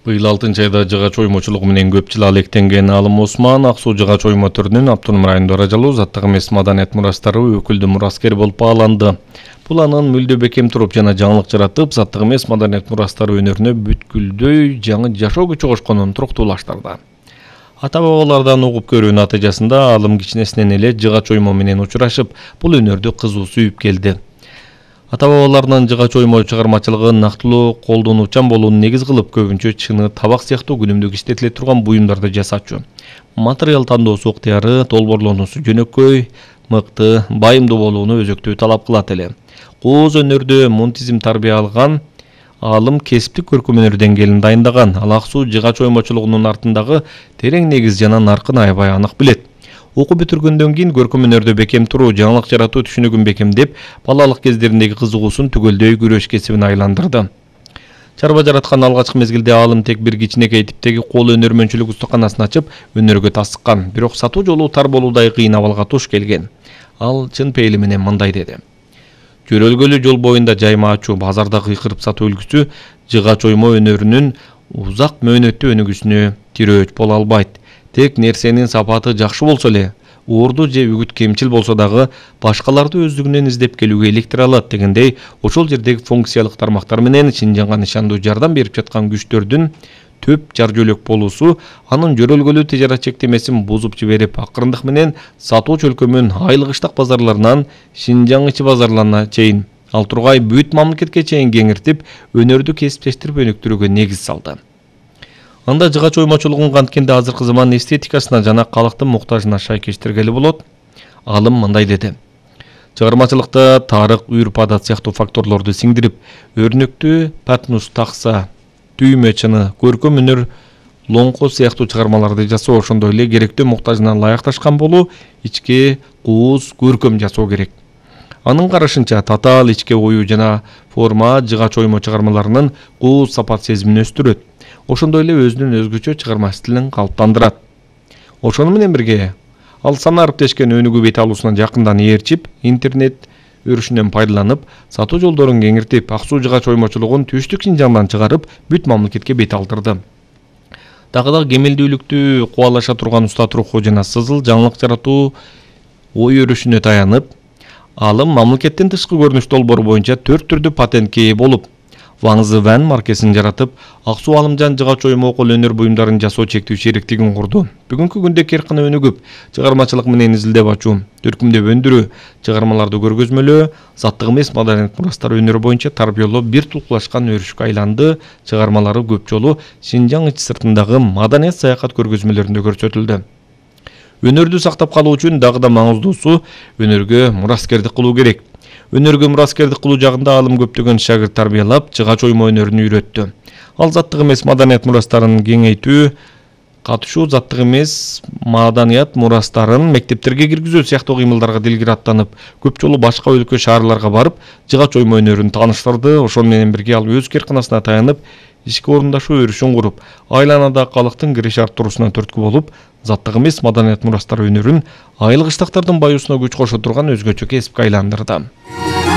Быйыл 6-айда жыгач оймочулугу менен көп жыл алектенген Алым Осман Ак Суу жыгач оймо түрүнүн автоном райондо ыражалуу заттык эмес маданият мурастары өкүлдүү мураскер болуп бааланды. Бул анын мүлдө бекем туруп жана жаңылык жаратып, заттык эмес маданият мурастары өнөрүнө бүткүлдөй жаңы жашоо күчү кошконун туруктуулаштырды. Ата-бабалардан угуп көрүү натыйжасында Алым кичинесинен эле жыгач оймо менен учурашып, бул өнөрдү кызуу сүйүп келди. Ата-бабаларынын жыгач оймо чыгармачылыгы нактылуу колдонуучан болууну негиз кылып, көбүнчө чыны, табак сыяктуу күнүмдүк иштетиле турган буюмдарды жасачу. Материал тандоосу ыктыяры, долбоорлонуусу жөнөкөй, мыкты, байымдуу болууну өзөктүү талап кылат эле. Кооз өнөрдө мунтизм тарбия алган Алым кесиптик көркөм өнөр деңгээлин дайындаган. Ал Ак Суу жыгач оймочулугунун артындагы терең негиз жана наркын аябай анык билет. Окуу бүтүргөндөн кийин көркөм өнөрдө бекем туруу, жаңылык жаратуу түшүнүгүн бекемдеп, балалык кездериндеги кызыгуусун түгөлдөй күрөш кесибине айландырды. Чарба жараткан алгачкы мезгилде Алым тек бир кичинекей типтеги кол өнөрмөнчүлүк устуканасын ачып, өнөргө тасыккан. Бирок сатуу жолу тар болуудай кыйын абалга туш келген. Ал чын пейили менен мындай деди: жөрөлгөлүү жол боюнда жайма ачуу, базарда кыйкырып сатуу үлгүсү жыгач оймо өнөрүнүн узак мөөнөттүү өнүгүүсүнө тирөөч боло албайт. Тек нерсенин сапаты жакшы болсо эле, уурду же үгүт кемчил болсо дагы башкаларды өздүгүнөн издеп келүүгө иликтире алат дегендей, ошол жердеги функциялык тармактар менен Шинжаңга нышандуу жардам берип жаткан күчтөрдүн төп жар жөлөк болуусу анын жөрөлгөлүү тижарат чектемесин бузуп жиберип, акырындык менен сатуу чөлкөмүн Айлык Ыштак базарларынан Шинжаң ичи базарларына чейин, ал тургай бүт мамлекетке чейин кеңиртип, өнөрдү кесиптештирип өнүктүрүүгө негиз салды. Анда жыгач оймочулугун канткенде азыркы заман эстетикасына жана калктын муктажына шайкештиргели болот. Алым мындай деди: чыгармачылыкта тарых, үрп-адат сыяктуу факторлорду сиңдирип, өрнөктүү патнус такса, түймө чыны, көркөм өнөр лоңко сыяктуу чыгармаларды жасоо, ошондой эле керектүү муктажына ылайыкташкан болуу, ичке кууз, көркөм жасоо керек. Анын карашынча, татаал ичке ою жана форма жыгач оймо чыгармаларынын кууз сапат сезимин өстүрөт. Ошондой эле өзүнүн өзгөчө чыгарма стилин калыптандырат. Ошону менен бирге, ал сана арыптешкен өнүгүү бет алуусунан жакындан ээрчип, интернет өрүшүнөн пайдаланып, сатуу жолдорун кеңиртип, Ак Суу жыгач оймочулугун түштүк Шинжаңдан чыгарып, бүт мамлекетке бет алдырды. Дагы да кемелдүүлүктү кубалаша турган устат руху жана сызыл жаңылык жаратуу ой өрүшүнө таянып, Алым мамлекеттин тышкы көрүнүш долбоору боюнча 4 түрдүү патентке ээ болуп, Ваңзы Ван маркесин жаратып, Ак Суу Алымжан жыгач оймо кол өнөр буюмдарын жасоо чектүү шериктигин курду. Бүгүнкү күндө керкина өнүгүп, чыгармачылык менен изилдеп ачуу, төркүмдөп өндүрүү, чыгармаларды көргөзмөлөө, заттык эмес маданият мурастары өнөрү боюнча тарбиялоо бир тулкулашкан өрүшкө айланды. Чыгармалары көп жолу Шинжаң ичи сыртындагы маданият саякат көргөзмөлөрүндө көрсөтүлдү. Өнөрдү сактап калуу үчүн дагы да маңыздуусу өнөргө мураскердик кылуу керек. Өнөргө мураскердик кылуу жагында Алым көптөгөн шагырт тарбиялап, жыгач оймо өнөрүн үйрөттү. Ал заттык эмес маданият мурастарын кеңейтүү, катышуу заттык эмес маданият мурастарын мектептерге киргизүү сыяктуу кыймылдарга дилгир аттанып, көп жолу башка өлкө шаарларга барып, жыгач оймо өнөрүн тааныштырды. Ошону менен бирге ал өз керкинасына таянып, ишке орундашуу өрүшүн куруп, айланада калктын кириш арттыруусуна түрткү болуп, заттык эмес маданият мурастары өнөрүн Айлык Ыштактардын баюусуна күч кошо турган өзгөчө кесипке айландырды.